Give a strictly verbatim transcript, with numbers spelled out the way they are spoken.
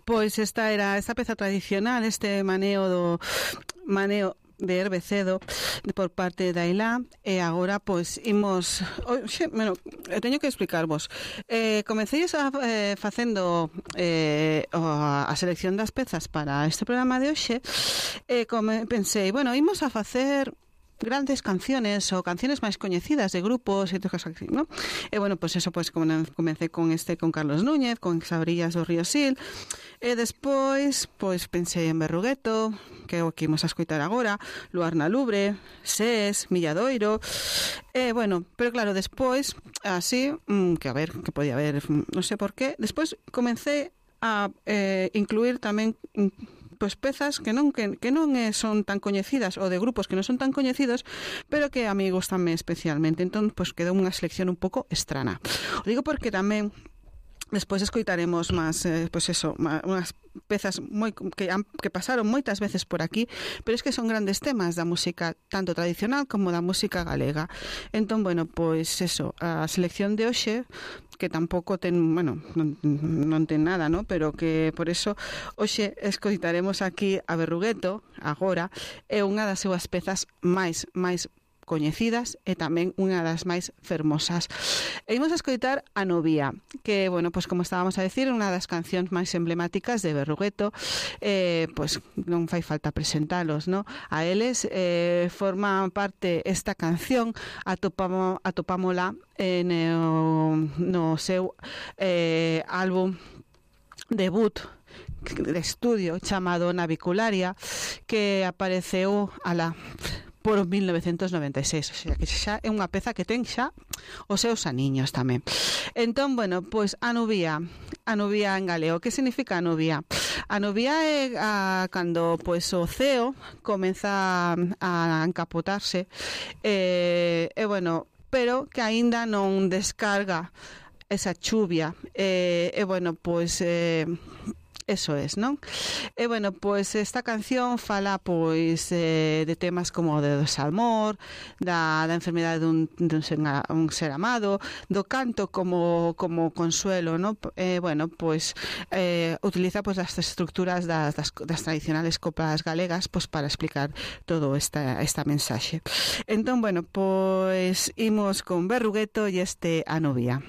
pois esta era esta peza tradicional, este maneo do maneo de Herbecedo por parte da Ilá, e agora pois imos, oxe, bueno, teño que explicarvos. Eh, comecei a eh, facendo eh, a selección das pezas para este programa de hoxe, e come, pensei, bueno, imos a facer grandes canciones ou canciones máis coñecidas de grupos e todas así, ¿no? E bueno, pues eso, pues como comecei con este, con Carlos Núñez, con Sabrillas do Río Sil, e despois, pois pensei en Berrugueto, que é o que imos a escoitar agora, Luar na Lubre, Sés, Milladoiro, e bueno, pero claro, despois, así, mmm, que a ver, que podía haber, non sei por qué, despois comecei a eh, incluir tamén pois pezas que non que, que non eh, son tan coñecidas, ou de grupos que non son tan coñecidos, pero que a mí gustame especialmente. Entón, pois quedou unha selección un pouco estrana. O digo porque tamén despois escoitaremos máis, eh, pois eso, máis, unhas pezas moi que, que pasaron moitas veces por aquí, pero es que son grandes temas da música tanto tradicional como da música galega. Entón, bueno, pois eso, a selección de hoxe, que tampouco ten, bueno, non, non ten nada, ¿no? Pero que por eso hoxe escoitaremos aquí a Berrugueto, agora, é unha das súas pezas máis, máis coñecidas e tamén unha das máis fermosas. E imos a escoitar a Novia, que, bueno, pues como estábamos a decir, unha das cancións máis emblemáticas de Berrugueto, eh, pues non fai falta presentalos, ¿no? A eles eh, forma parte esta canción, atopamo, atopámola en, no, no seu eh, álbum debut de estudio chamado Navicularia, que apareceu a la por mil novecentos noventa e seis, o sea, que xa é unha peza que ten xa os seus aniños tamén. Entón, bueno, pois a Nubia, a Nubia en galego, que significa a Nubia? A Nubia é a, cando pois o ceo comeza a encapotarse, e, e bueno, pero que aínda non descarga esa chuvia, e, e bueno, pois eh, eso es, ¿non? E bueno, pois esta canción fala pois eh, de temas como de desamor, da, da enfermedade dun, dun ser, un ser amado, do canto como como consuelo, ¿no? Eh, bueno, pois eh, utiliza pois as estructuras das, das, das tradicionales coplas galegas pois para explicar todo esta esta mensaxe. Entón, bueno, pois imos con Berrugueto e este A Novia.